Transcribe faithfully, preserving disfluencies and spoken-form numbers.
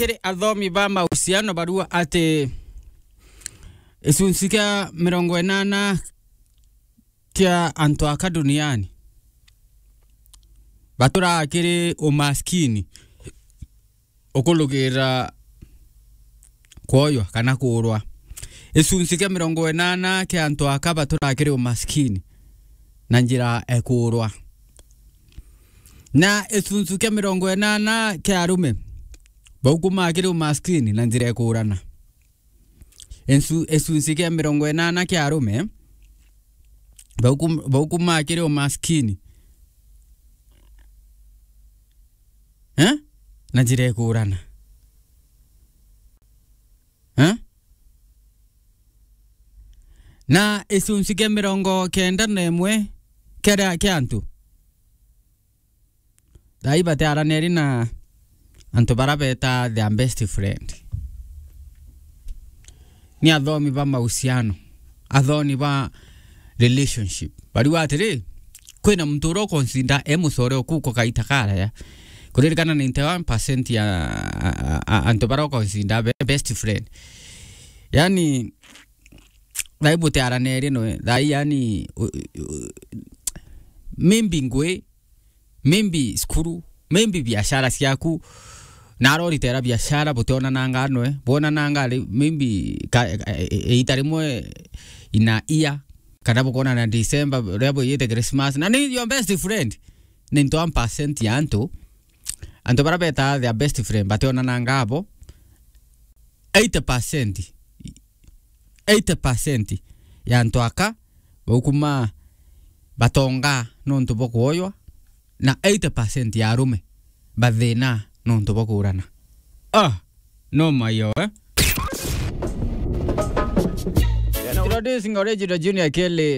kiri athomi ba mahusiano barua ati gicunci kia mirongo inana kia antu aka duniani baturaa kiri umaskini ukurukira kwoywa kana kuurwa. Gicunci kia mirongo inana kia antu aka baturaa kiri umaskini na njira e kuurwa. Na gicunci kia mirongo inana kia arume baukumaa kiri umaskini na njira e kuurana. Insu-, gicunci kia mirongo inana kia arume baukum-, baukumaa kiri umaskini. Eh? Na njira e kuurana. Eh? Na gicunci kia mirongo kenda na imwe kia, kia antu thaai batiaraniri na antu bara beta their best friend. Ni athomi ba mahusiano, athomi ba relationship. Bariuga atiri, kwina muntu uria ukonsinda e mucore uku uko kaita karaya. Kuririkana ninety-one percent ya a, a, a, antu bara ukonsinda be best friend. Yani, thaai butiaraniri noe, thaai yani, u, u, maybe ngui, maybe cukuru, maybe biashara ciaku, na aroritera biashara, butionananga noe, bwonananga ri-, maybe ka, e, e, e, iita rimwe in a year, kana bukonana December, riria bwiyite Christmas, na ni your best friend. Ninety-one percent ya antu, antu bara beta their best friend, bationananga abo, eighty percent, eighty percent ya antu aka baukuma batonga nontu bwa kuoywa, na eighty percent ya arume bathina nontu bwa kuurana. Ah, no mayo, eh? Introducing Original Junior Kelly.